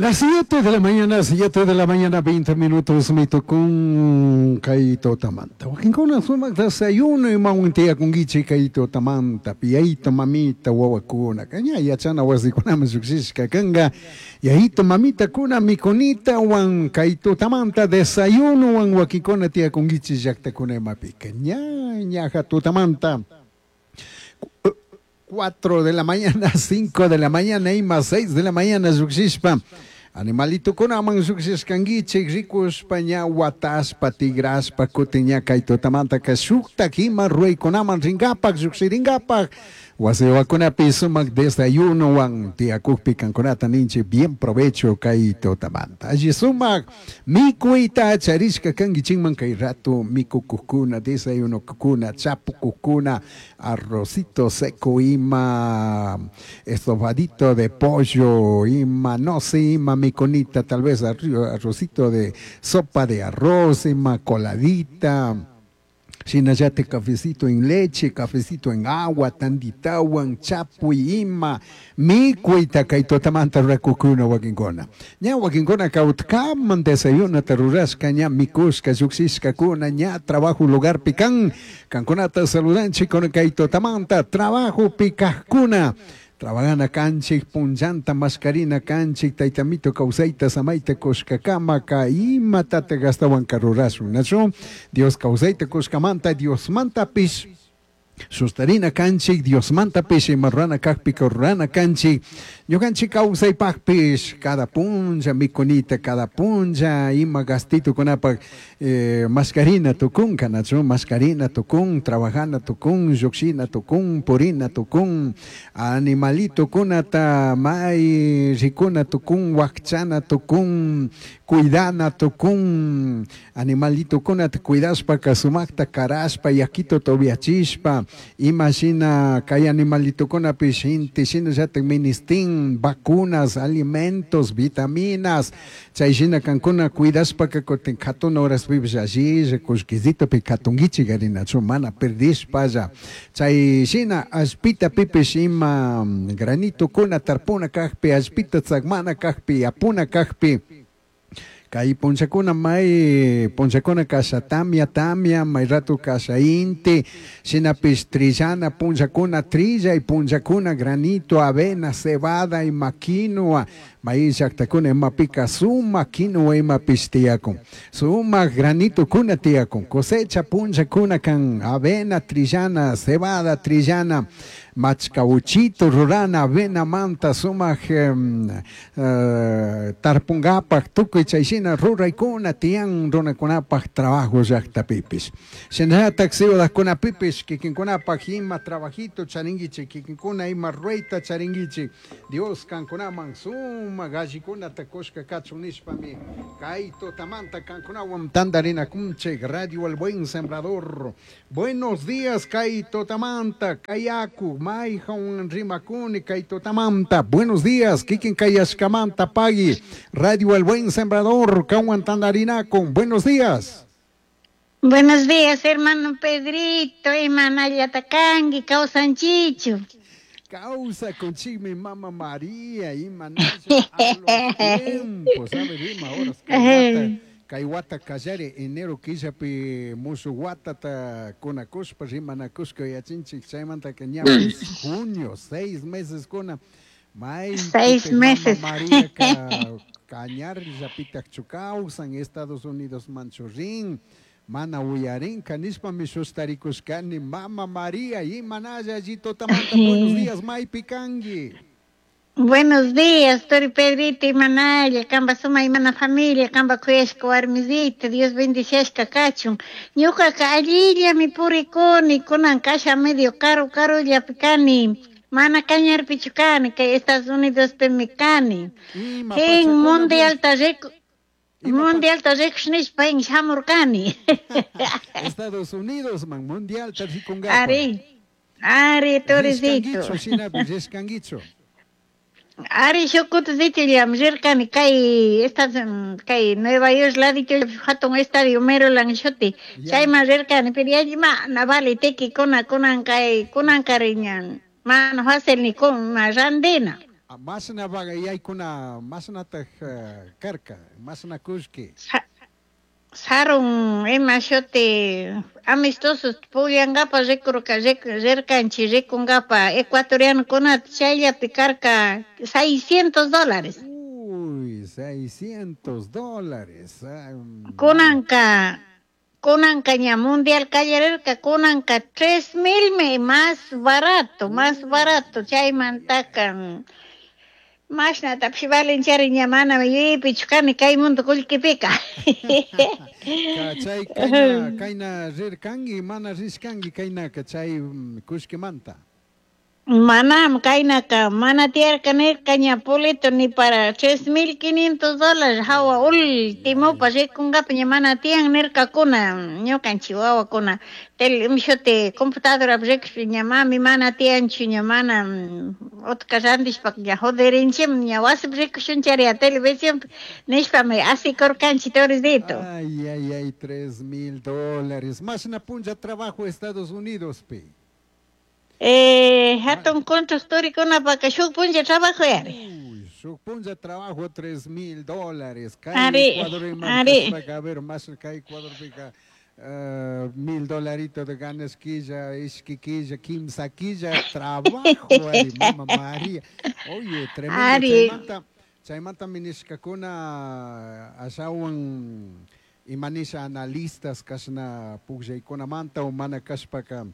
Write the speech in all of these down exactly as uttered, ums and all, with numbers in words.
Las siete de la mañana, siete de la mañana, veinte minutos, mitukun kay tutamanta. Wakinkuna sumaq desayuno imawan tiyakunkichik kay tutamanta, yayito mamita wawakuna, ña yachana wasikunaman lluqshishka kanka, yayito mamitakuna mikunitawan kay tutamanta desayunowan wakinkuna tiyakunkichik llaqtakuna imapika. Ña, ñaja tutamanta. cuatro de la mañana, cinco de la mañana y más seis de la mañana lluqshishpa animalitukunaman lluqshishkankichik rikushpa ña watashpa tigrashpa kutin ña kay tutamantaka shuktak ima ruraykunaman rinkapak lluqshirinkapak wasiwakunapi sumak desayunowan tiyakukpi kankunata ninchik bien provecho kay tutamanta. Alli sumak mikuyta charishka kankichikman kay rato mikukuqkuna desayunokuna chapukukuna arrocito seco ima estofadito de pollo ima no sé ima mikunita tal vez arrocito de sopa de arroz ima coladita shinallatik cafecito en leche, cafecito en agua, tanditawan, chapuy ima, mikuyta kay tutamanta rurakukuna wakinkuna. Ña wakinkuna kawtkaman desayunata rurashka ña mikushka lluqshishkakuna ña trabajo lugarpi kan, kankunata saludanchik con kay tutamanta trabajopi kajkuna. Trabajana kanchik, punllanta mascarina kanchik, taytamito kawsayta samayta kushkakamaka, imatata gastawanka rurashun, nachu? Dios kawsayta kushkamanta, Diosmantapish sustarina kanchik, Diosmantapish ima rurana kakpika rurana kanchik, ñukanchik kawsaypaqpish cada punlla mikunita, cada punlla ima gastitukunapak eh, mascarina tukunka, nachu? Mascarina tukun, trabajana tukun, lluqshina tukun, purina tukun, animalitukunata may rikuna tukun, wakchana tukun, cuidana tukun, animalitukunata cuidashpaka sumakta karashpa, yakituta upiachishpa, imashina kay animalitukunapish inti shinallatik ministin vacunas, alimentos, vitaminas, chay shina kankuna cuidashpaka kutin katuna horaspipish allilla kullkisitopi katunkichik arinachu mana perdishpalla, chay shina allpitapipish ima granitokuna tarpuna kakpi, allpita tzakmana kakpi, yapuna kakpi, kay punllakuna may punllakuna kasha tamia tamia may rato kasha inti shinapish trillana punllakuna trillay punllakuna granito avena cebada ima quinoa may llaqtakuna imapika sumak quinoa imapish tiyakun sumak granitokuna tiyakun cosecha punllakuna kan avena trillana cebada trillana machkawuchito rurana avena manta sumak um, uh, tarpunkapak tukuy chay shina ruraykuna tiyan runakunapak trabajo llaqtapipish shinallatak ciudadkunapipish kikinkunapak ima trabajito charinkichik kikinkuna ima rurayta charinkichik Dios kankunaman sumak allikunata kushka kachun nishpami kay tutamanta kankunawan tantarinakunchik Radio El Buen Sembrador. Buenos días kay tutamanta kayaku mayhan rimakuni kay tutamanta. Buenos días kikin kayashkamanta pagui Radio El Buen Sembrador kanwan tantarinakun. Buenos días. Buenos días, hermano Pedrito, imanallata kanki kawsanchichu. Causa conchigmi mama María imanalla a los tiempos, a ver, ima horas kay wata, kay wata kallari enero killapi musuq watata kunakushpa rimanakushka yachinchik chaymantaka ña junio seis meses kuna may Seis meses. Mama María kañarllapitaqchu kawsan Estados Unidos manchu rin mana uyarinka nishpami sustarikushkani mama María imanalla alli tutamanta buenos días maypi kanki. Buenos días, Tori Pedrito, imanalla, kamba suma imana familia, kamba kuyashka warmisita, Dios bendiciashka kachun. Ñuqaka allillami purikuni, kunan kasha medio karu karullapi kani, mana kañarpichu kani, kay Estados Unidospimi kani. Ima Hin pachakuna mundialta riku ima mundialta rikush nishpa hin shamurkani. Estados Unidos man mundialta rikunkapa. Ari, ari, Torisito. Rishkankichu shinapi rishkankichu. Ari shukutisitillam rirkani kay estas kay Nueva York ladito hatun estadio Maryland shuti Ya. chayman rirkani pero yalli mana vale tiki kuna kunan kay kunan kariñan mana fácil ni kun ma randina. Mashna yaykuna mashnataj karka mashna kullki. Sarun ima shuti amistosos pugllankapa rikurka rirkanchik rikunkapa ecuatorianokunata chayllapi karka seiscientos dólares. Uy, seiscientos dólares. Kunanka kunanka ña mundial kallarirka kunanka tres mil más barato, más barato chaymantaka mashnatapish valenchari ña mana yuyaypichu kani kay mundo kullkipika. Chay kayna kayna rirkanki mana rishkanki kaynaka chay kullkimanta. Manam kaynaka mana tiyarka nirka ña boleto ni para tres mil quinientos dólares hawa ultimopa rikunkapa ña mana tiyan nirkakuna ñukanchik wawakuna tele shuti computadorapi rikushpa ña mami mana tiyanchu ña mana utka rantishpaka ña joderinchikmi ña wasipi rikushunchari televisionpi nishpami asikurkanchik Toricito. Ay, ay, ay, tres mil dólares. Mashna punlla trabajo Estados Unidos pi. Eh, hatun constructorkunapaka shuk punlla trabajo yari. Uy, shuk punlla trabajo tres mil dólares. Kay Ari, Ecuador ari. a ver, más kay Ecuadorpika uh, mil dolaritos de ganas quilla, ishki quilla, kimsa quilla, trabajo, ari, mama María. Oye, tremendo. Ari. Chaymanta, chaymanta minishkakuna ashawan imanisha analistas kashna pukllaykunamanta o mana kashpaka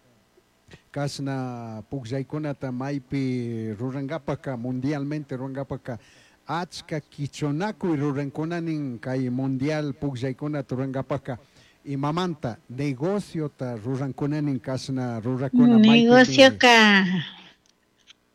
kashna pukllaykunata maypi rurankapaka mundialmente rurankapaka achka kichunakuy rurankunanin kay mundial pukllaykunata rurankapaka imamanta negociota rurankunanin kashna rurakuna maypimi Negocioka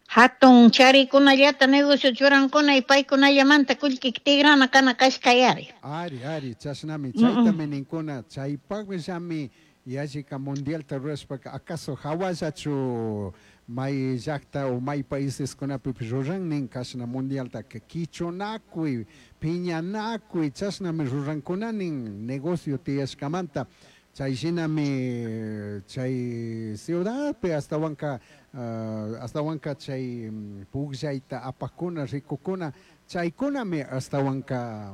hatun charikunallata negocio churankuna y paykunallamanta kullki tigrana kana kashka yari. Ari, ari, chashnami, Mm, chaytami ninkuna, chaypaqllami yallika mundialta rurashpaka acaso hawallachu may llaqta o may paíseskunapipish rurannin kashna mundialtaka kichunakuy, piñanakuy, chashnami rurankunanin negocio tiyashkamanta, chay shinami chay ciudadpi astawanka uh, astawanka chay pukllayta apakuna rikukuna chaykunami astawanka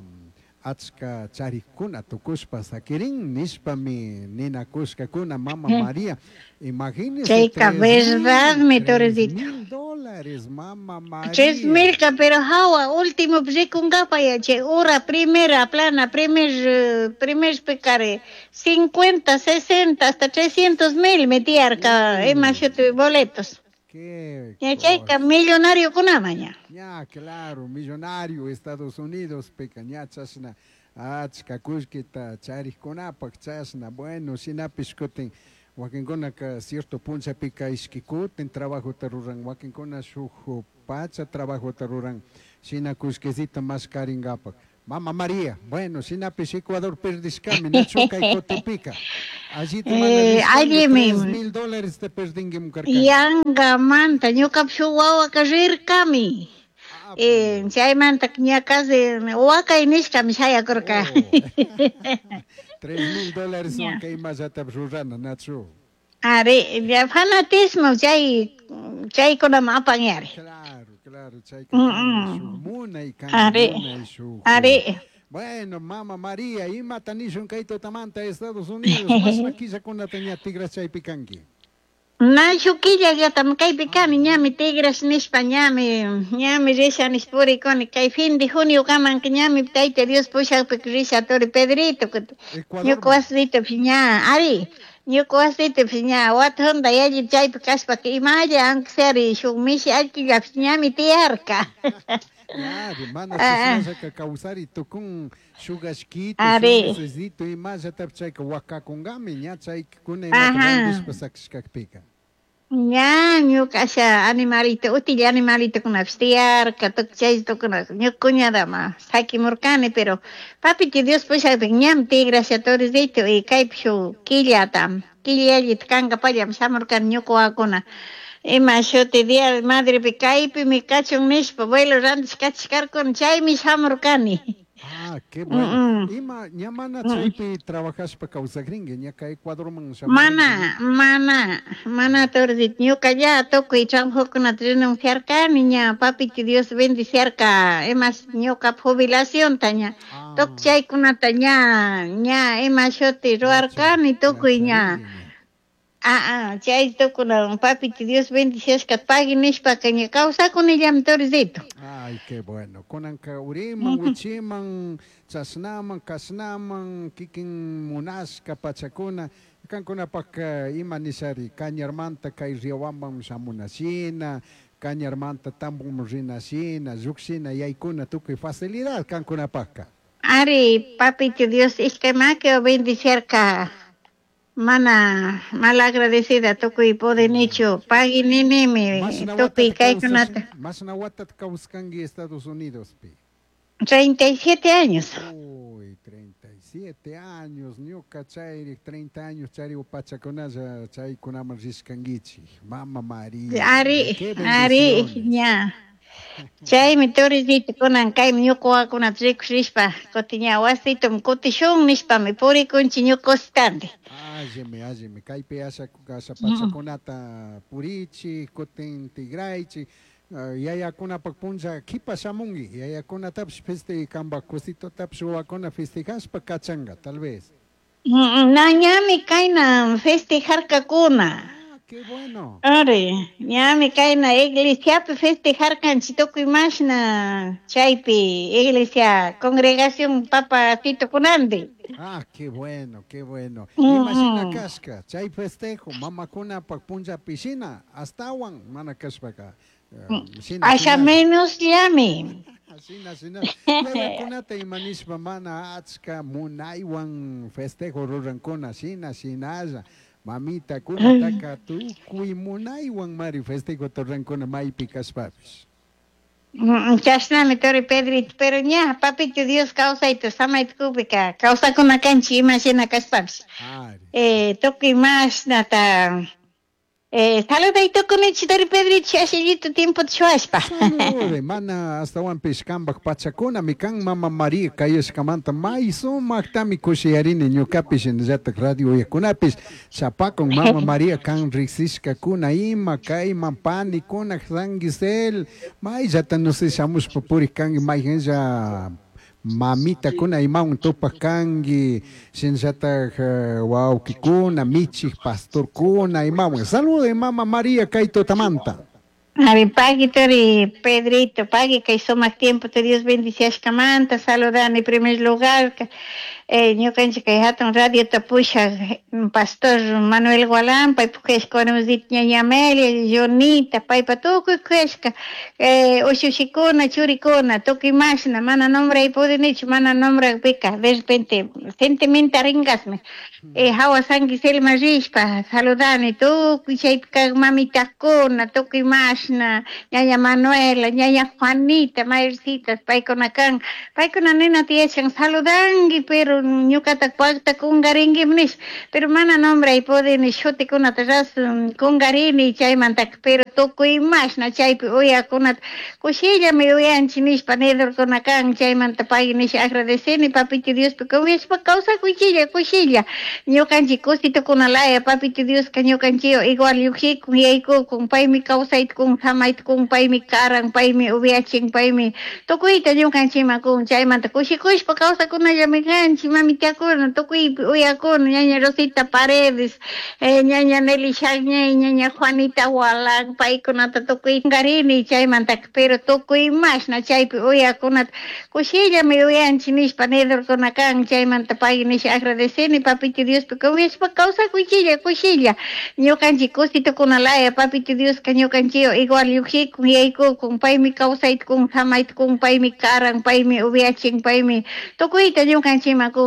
achka charikuna tukushpa sakirin nishpami ninakushkakuna mama María. Imagínese Chayka tres mil, verdadmi tres Toricito. mil dólares, mama Tres María. milka pero hawa último rikunkapa ya chay hora primera plana primer eh, primer pecare cincuenta, sesenta hasta trescientos mil metiyarka ima Uy, shuti boletos. qué Ya chayka cosa. millonario kunama ña. Ya, claro, millonario Estados Unidos, pika ña chashna achka kullkita charikkunapak chashna, bueno, shinapish kutin wakinkunaka cierto punllapika ishki kutin trabajota ruran, wakinkuna shuk pacha trabajota ruran, shina kullkisita mashkarinkapak. Mama María, bueno, shinapish Ecuador perdishkami, nachu kay kutipika. Allita mana Eh, rishkanki, allimi tres mil dólares te perdinki karkanki. yangamanta ñukapish shuk wawaka rirkami. Ah, Eh, chaymanta ña casi wakay nishkami shayakurka. Oh. Tres mil dólares son Ña. kay imallatapish rurana, nachu. Ari, ya fanatismo chay chaykunaman apan yari. Claro, claro, chayka Mm, kan shuk mm. munay kan Ari, munay shuk. ari. Bueno, mama María, imata nishun kay tutamanta Estados Unidos, mashna killakunata ña tigrash chaypi kanki. Na shuk killallatami kaypi kani ñami tigrash nishpa ñami ñami risha nishpa purikuni kay fin de junio kamanka ñami tayta Dios pushakpika risha turi Pedrito kutin ñuka Ecuadorman. wasitopish ña ari ñuka wasitopish ña wata junda yalli chaypi kashpaka imalla aunque sea shuk mishi allkillapish ñami tiyarka. Ari, mana Ah, chashnallaka kawsari tukun shuk ashkito, shuk ari mesecito imallatapish chayka wakakunkami ña chaykuna imata ajá randishpa sakishkakpika. Ña ñuka asha animalito utilla animalitokunapish tiyarka tukuy chay tukuna ñuka cuñadama sakimurkani pero papito Dios pushakpika ñami tigrasha Toricito y kaypi shuk killata killa yallita kankapallami shamurkani ñuka wawakuna ima shuti día de madrepi kaypimi kachun nishpa vuelo randish kachishkarkuna chaymi shamurkani. Ah, qué bueno. Ima, ña mana chaypi trabajashpa kawsakrinki, ña kay Ecuadorman Mana, mana, mana Torzito, ñuka ya tukuy trabajokunata renunciarkani ña, papito Dios bendiciarka, imash ñuka jubilacionta ña, Ah. tukuy chaykunata ña, ña ima shuti ruwarkani tukuy ña. Ah, ah, chay tukuna papito Dios bendiciashka pagui nishpaka ña kawsakunillami Torzito. Ay, qué bueno. Kunanka uriman, wichiman, chashnaman, kashnaman, kikin munashka pachakuna, kankunapak ima nishari, Cañarmanta kay Riobambaman shamunashina, Cañarmanta Tamboman rinashina, llukshina, yaykuna tukuy facilidad kankunapakka. Ari, papito Dios ishkay maki bendiciarka, mana malagradecida tukuy podinichu, pagui ninimi, tukuy kaykunata. Mashna watata kawskanki Estados Unidospi? Treinta y siete años. Uy, treinta y siete años, ñuka chayri, treinta años chari pachakunalla chaykunaman rishkankichik, Mama María. Ari, Qué ari, bendiciones. Ña. Chaymi Torizito kunan kaymi ñuka wawakunata rikushpa kutin ña wasitum kutishun nishpami purikunchik ñuka cositante. Allimi, allimi, kaypi asha, asha pachakunata purichik, kutin tigraychik, yayakunapak punlla kipa shamunki, yayakunatapish feste kanpak kusitotapish wawakuna festejashpa kachanka, tal vez. Na ñami kayna festejarkakuna. Ah, qué bueno. Ari, ñami kayna iglesiapi festejarkanchik tukuy mashna chaypi iglesia congregación Papa Tito kunanti. Ah, qué bueno, qué bueno. Mm, Imashina mm. kashka, chay festejo, mamakunapak punllapi shina, astawan mana kashpaka. Eh, shina, Asha shina. menos llami. Shina, shina. Yayakunata ima nishpa mana achka munaywan festejo rurankuna, shina, shinalla. Mamita kunataka tukuy munaywan mari festejo rurankuna maypi kashpapish. Mm, chashnami Tori Pedrito, pero ña, papito Dios kawsayta samayta kupika, kawsakuna kanchik ima shina kashpapish. Ari. Eh, tukuy mashnata, eh, saluday tukunichik Tori Pedrito, shashillito tiempo shuwashpa. Salude, mana astawanpish kanpak pachakunami kan Mama María kayashkamanta may sumaktami kushiyarini ñukapish shinallatak radio uyakunapish chapakun Mama María kan riksishkakuna ima kayman panikuna San Gisel mayllata no sé shamushpa purik kanki mayqanlla mamitakuna imawan tupak kanki shinallatak wawkikuna michik pastorkuna imawan. Salude Mama María kay tutamanta. Ari, pagui Tori Pedrito, pagui kay sumak tiempo te Dios bendiciashkamanta, saludani en primer lugar, eh, ñukanchik kay hatun radio tapusha pastor Manuel Gualán, paypuk kuyashka warmisita ñaña Amelia, Jonita, paypa tukuy kuyashka, eh, ushushikuna, churikuna, tukuy mashna, mana nombray pudinichu, mana nombrakpika, de repente sentimentaringasmi, eh, hawa San Giselma rishpa, saludani tukuy chaypi kak mamitakuna, tukuy mashna, ñaña Manuela, ñaña Juanita, mayorcitas, paykuna kan, paykuna nina tiyachan saludanki, pero ñukata pakta kungarinkim nish, pero mana nombray pudini shutikunata ras kungarini chaymantaka, pero tukuy mashna chaypi uyakunata kushillami uyanchik nishpa nidorkuna kan, chaymanta pay nish agradeceni papito Diospi confiashpa kawsakuychilla kushilla, ñukanchik kusitukunalaya papito Dioska ñukanchik igual llukshikun yaykukun, paymi kawsayta kun, samayta kun, paymi karan, paymi upiachin, paymi tukuyta ñukanchikman kun, chaymanta kushikushpa kawsakunallami kanchik, mamitakuna tukuypi uyakuna, ñaña Rosita Paredes, eh, ñaña Nelly Shagñay, ñaña Juanita Gualán, paykunata tukuy karini chaymantaka, pero tukuy mashna chaypi uyakunata kushillami uyanchik nishpa nidorkuna kan, chaymanta pay nish agradeceni papito Diospi confiashpa kawsakuychilla kushilla, ñukanchik kusitukunalaya papito Dioska ñukanchik igual llukshikun yaykukun, paymi kawsayta kun, samayta kun, paymi karan, paymi upiachin, paymi tukuyta ñukanchikman kun.